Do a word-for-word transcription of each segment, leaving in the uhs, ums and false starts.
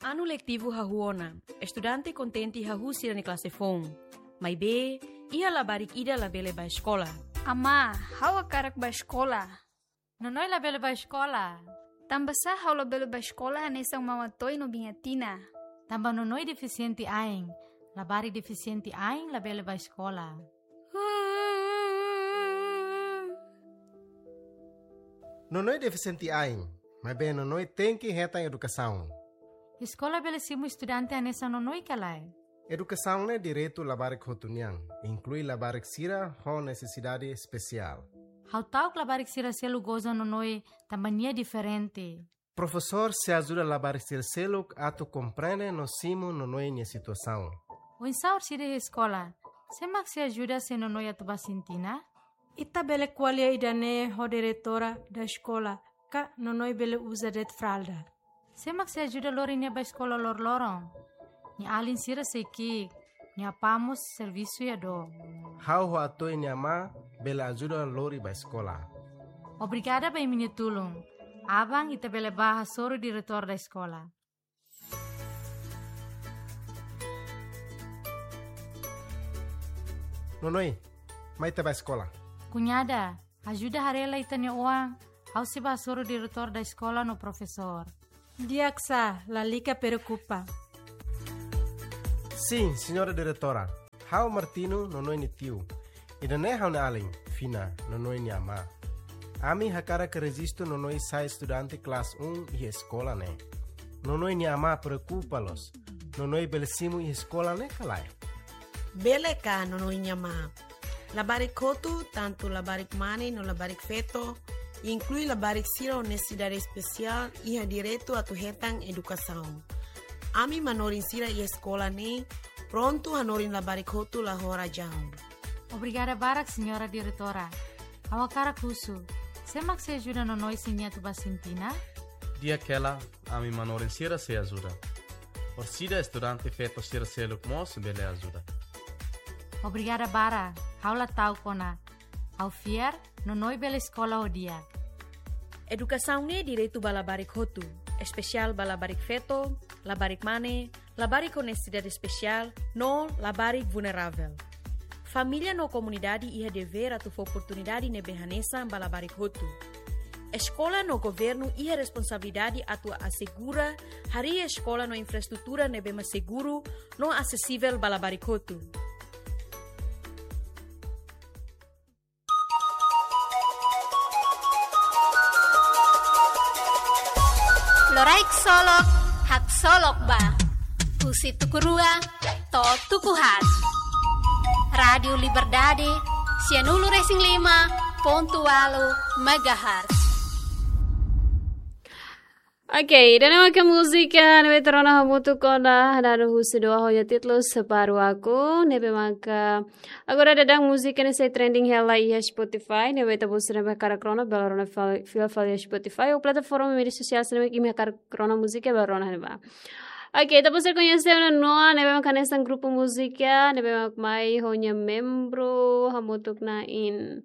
Anu letivu hahú ona, estudante kontente hahú sira-nia klase foun. Maibé, iha labarik ida labele bá eskola. Amá, ha'u hakarak bá eskola. Nonoi labele bá eskola. Tanbasá ha'u labele bá eskola hanesan Mama Toy no Biña Tina? Tanba Nonoi defisiente ain. Labarik defisiente ain labele bá eskola. Nonoi defisiente ain, maibé Nonoi tenke hetan edukasaun. Eskola bele simu estudante hanesan Nonoi ka lae? Edukasaun ne'e direitu labarik hotu nian, inklui labarik sira ho nesesidade espesiál. Ha'u ta'uk labarik sira seluk goza Nonoi tanba nia diferente. Profesór sei ajuda labarik sira seluk atu komprende no simu Nonoi nia situasaun. Oinsá orsida iha eskola? Sé mak sei ajuda se Nonoi atu bá sintina? Ita bele ko'alia ida-ne'e ho diretora da eskola, ka Nonoi bele uza de'it fralda. Sé mak sei ajuda lori nia bá eskola loroloron? Nia alin sira sei ki'ik, nia apá mós servisu iha dook. Ha'u ho Atoy nia amá bele ajuda lori bá eskola. Obrigada ba imi-nia tulun. Aban ita bele bá hasoru diretór da eskola. Nonoi, mai ita bá eskola. Kuñada, ajuda haree lai ita-nia oan, ha'u sei bá hasoru diretór da eskola no profesór. Di'ak sá, lalika preokupa. Sin, señora diretora. Ha'u Martino, Nonoi nia tiu. Ida-ne'e ha'u-nia alin, Fina, Nonoi nia amá. Ami hakarak rejistu Nonoi sai estudante klase um iha eskola ne'e. Nonoi nia amá preokupa loos. Nonoi bele simu iha eskola ne'e ka lae? Bele ka, Nonoi nia amá? Labarik hotu, tantu labarik mane no labarik feto, inklui labarik sira ho nesesidade espesiál, iha direitu atu hetan edukasaun. Ami manorin sira iha eskola ne'e prontu hanorin labarik hotu la ho razaun. Obrigada barak, señora diretora. Ha'u hakarak husu, sé mak sei ajuda Nonoi se nia atu bá sintina? Di'ak hela, ami manorin sira sei ajuda. Orsida estudante feto sira seluk mós bele ajuda. Obrigada barak, ha'u la ta'uk ona. Ha'u fiar, Nonoi bele eskola ho di'ak. Edukasaun ne'e direitu ba labarik hotu, espesiál ba labarik feto, labarik mane, labarik ho nesesidade espesiál, no labarik vulneravel. Família no komunidade iha devér atu fó oportunidade ne'ebé hanesan ba labarik hotu. Eskola no governu iha responsabilidade atu asegura harii eskola no infraestrutura ne'ebé mak seguru no asesivel ba labarik hotu. Loraik solok, haksolok ba. Husi tuku rua to'o tuku haat. Rádiu Liberdade, sianulu resin lima pontu ualu megahertz. Oke, ida-ne'e maka múzika ne'ebé ita rona hamutuk ona, dada husi doa ho nia títulu Separu Aku, ne'ebé maka agora daudaun múzika ne'e sei trending hela iha Spotify, ne'ebé ita-boot sira ne'ebé hakarak rona, bele rona fal-, fila fali iha Spotify, ou plataforma média sosiál sira ne'ebé imi hakarak rona múzika, bele rona ne'ebá. Oke, ita-boot sira koñese ona Noa, ne'ebé maka hanesan grupu múzika, ne'ebé mak mai ho nia membru, hamutuk na'in.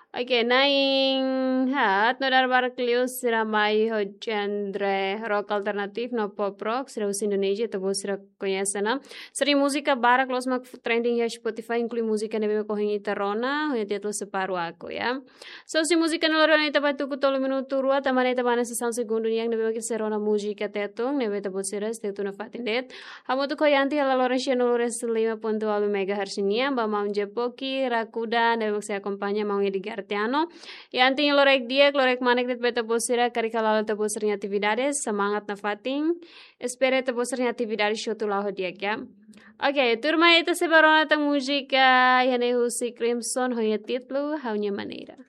Oke, na'in haat no dala barak liu sira mai ho genre rock alternatif no pop rock, sira husi Indonézia, ita-boot sira koñese ona. Sira-nia múzika barak loos mak trending iha Spotify, inklui múzika ne'ebé mak ohin ita rona, ho nia títulu Separu Aku, ya. So, husi múzika ne'e lori ona ita bá tuku tolu minutu rua, tanba ne'e ita bá iha sesaun segundu nian ne'ebé mak ita sei rona múzika Tetun, ne'ebé ita-boot sira sei tuir nafatin de'it. Hamutuk ho Yanti hela loron sianulu resin lima pontu ualu megahertz nian, ba maun Jepoki, Rakuda, ne'ebé mak sei akompaña maun Edgar Tiano. Yanti, loraik di'ak, loraik manek de'it ba ita-boot sira, karik hala'o ita-boot sira-nia atividade, semangat nafatin. Espera ita-boot sira-nia atividade hotu la'o ho di'ak, ya. Oke, turma, ita sei bá rona tan múzika, iha ne'e husi Crimson, ho nia títulu Ha'u-nia Maneira.